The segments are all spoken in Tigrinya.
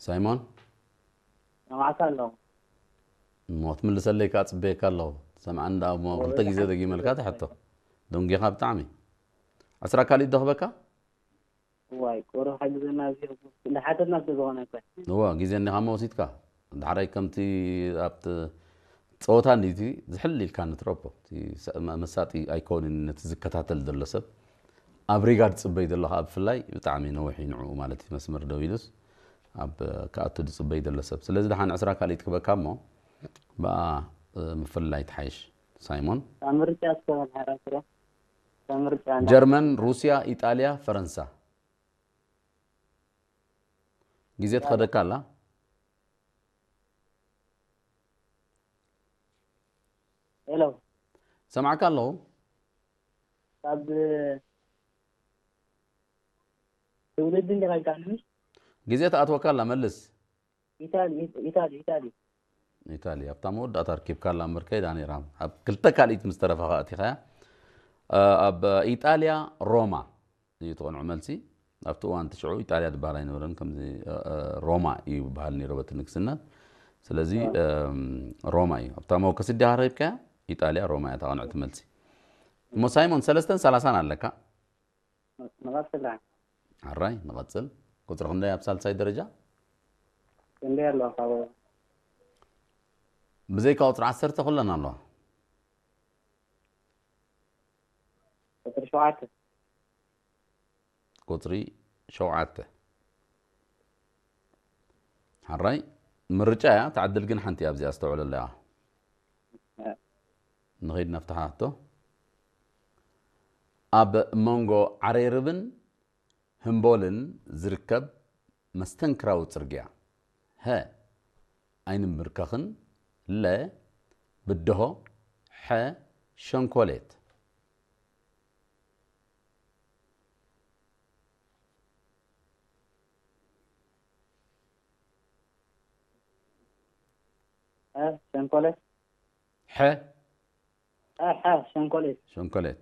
ሳይሞን? ሰማዕካ ኣለኹ። እሞ ክትምልሰለይ ከዓ ጽበየካ ኣለኹ። ሰምዓኒ ደኣ እሞ ክልተ ግዜ ደጊመልካ ትሕቶ። ደንጊኻ ብጣዕሚ። ዕስራ ካልኢት ዶ ክበካ? እዋይ፣ ቁሩብ ሓግዘና፣ እዚ ንሓተትና ስለ ዝኾነ እኮ። እዋ፣ ግዜ እንዲኻ እሞ ወሲድካ። ዳሕራይ ከምቲ ኣብቲ ጸወታ እንዲቲ ዝሕል ኢልካ ንትረፖ። እቲ ሰ-፣ መ-፣ መሳጢ ኣይኮንን ነቲ ዝከታተል ዘሎ ሰብ። ኣብ ሪጋ ዝጽበይ ዘለኻ ኣብ ፍላይ ብጣዕሚ ነዊሕ እዩ ንዕኡ ማለት እዩ መስመር ደው ኢሉስ ኣብ ክኣቱ ዝጽበይ ዘሎ ሰብ። ስለዚ ደሓን ዕስራ ካልኢት ክበካ እሞ ብኣ፣ እ፣ ምፍልላይ ትሓይሽ። ሳይሞን? ካብ ምርጫ እስከ በል ሓራ ስረ። ካብ ምርጫ እንዳ- ጀርመን፣ ሩስያ፣ ኢጣልያ፣ ፈረንሳ። ግዜ ትኸደካ ኣላ። ሄሎ፣ ሰማዕካ ኣለኹ። ካብ ትውልዲ እንዲኻ ኢልካኒ? ግዜ ትኣትወካ ኣላ፣ መልስ። ኢታሊ፣ ኢታሊ፣ ኢታሊ። ኢታሊ ኣብታ መወዳእታ ኣርኪብካ ኣላ እምበር ከይዳ ነይራ። ኣብ ክልተ ካልኢት ምስ ተረፋኻ ኣቲኻያ። እ፣ ኣብ ኢጣልያ ሮማ እዩ እቲ ቅኑዕ መልሲ። ኣብቲ እዋን እቲ ሽዑ ኢጣልያ ዝበሃል ኣይነበረን፣ ከምዚ፣ እ፣ እ፣ ሮማ እዩ ዝበሃል ነይሩ በቲ ንግስነት። ስለዚ፣ እም፣ ሮማ እዩ። ኣብታ መወከሲ ድያ ረኺብካያ? ኢጣልያ ሮማ እያ እታ ቅንዕቲ መልሲ። እሞ ሳይሞን ሰለስተን ሰላሳን ኣለካ። ንቐጽል ደኣ። ኣራይ ንቐጽል። ቁጽሪ ክንደይ ኣብ ሳልሳይ ደረጃ? ክንደይ ኣለዋ ካብ ብዘይካ ቁጽሪ ዓሰርተ ኩለን ኣለዋ። ቁጽሪ ሸውዓተ። ቁጽሪ ሸውዓተ። ሓራይ ምርጫ እያ፣ ትዓድል ግን ሓንቲ እያ፣ ኣብዚኣ ኣስተውዕለላ እያ። ንኸይድ ነፍትሓ ሕቶ። ኣብ መንጎ ዓሬርብን ህምቦልን ዝርከብ መስተንክራዊ ጽርግያ፣ ሀ፣ ኣይንምብርከኽን፣ ለ፣ ብድሆ፣ ሐ፣ ሸንኮሌት። እ፣ ሸንኮሌት። ሐ። እ፣ ሐ፣ ሸንኮሌት። ሸንኮሌት።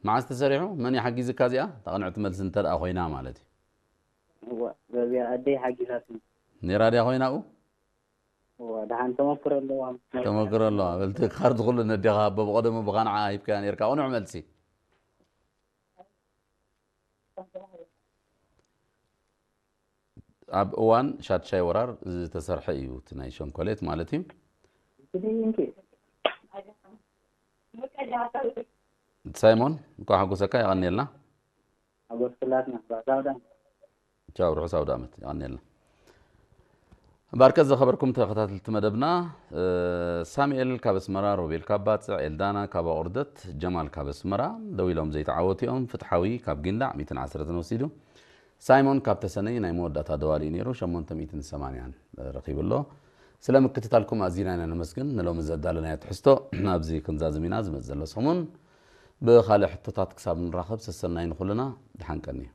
መዓስ ተሰሪሑ? መን ይሓጊዝካ እዚኣ? እታ ቅንዕቲ መልሲ እንተ ደኣ ኮይና ማለት እዩ። እወ፣ በዚኣ ኣደይ ሓጊዛትኒ። ነይራ ድያ ኮይና ኣብኡ? እወ፣ ደሓን ተመክሮ ኣለዋ። ተመክሮ ኣለዋ። በልቲ ካርድ ኩሉ ነዴኻ ኣቦ ብቐደሙ ብኻ ንዓ ሂብካያ ነይርካ። ቅኑዕ መልሲ። ኣብ እዋን ሻድሻይ ወራር ዝተሰርሐ እዩ እቲ ናይ ሸንኮሌት ማለት እዩ። ሳይሞን እንኳዕ ሓጎሰካ፣ የቐንየልና። ሓጎስ ኩላትና፣ ራሳውዳን። ቻው፣ ርሑስ ኣውደ ዓመት፣ የቐንየልና። ባርከት ዝኸበርኩም ተኸታተልቲ መደብና፣ እ፣ ሳሙኤል ካብ ኣስመራ፣ ሮቤል ካብ ባጽዕ፣ ኤልዳና ካብ ኣቑርደት፣ ጀማል ካብ ኣስመራ ደዊሎም ዘይተዓወቱ እዮም። ፍትሓዊ ካብ ጊንዳዕ ሚእትን ዓሰርተን ወሲዱ። ሳይሞን ካብ ተሰነይ ናይ መወዳእታ ደዋሊ እዩ ነይሩ፣ ሸሞንተ ሚእትን ሰማንያን ረኺቡ ኣሎ። ስለ ምክትታልኩም ኣዚና ኢና ነመስግን። ንሎሚ ዘዳለናዮ ትሕዝቶ ኣብዚ ክንዛዝም ኢና። ዝመጽእ ዘሎ ሰሙን ብኻልእ ሕቶታት ክሳብ ንራኸብ ሰሰናዩ ንኹልና። ደሓን ቀንዩ።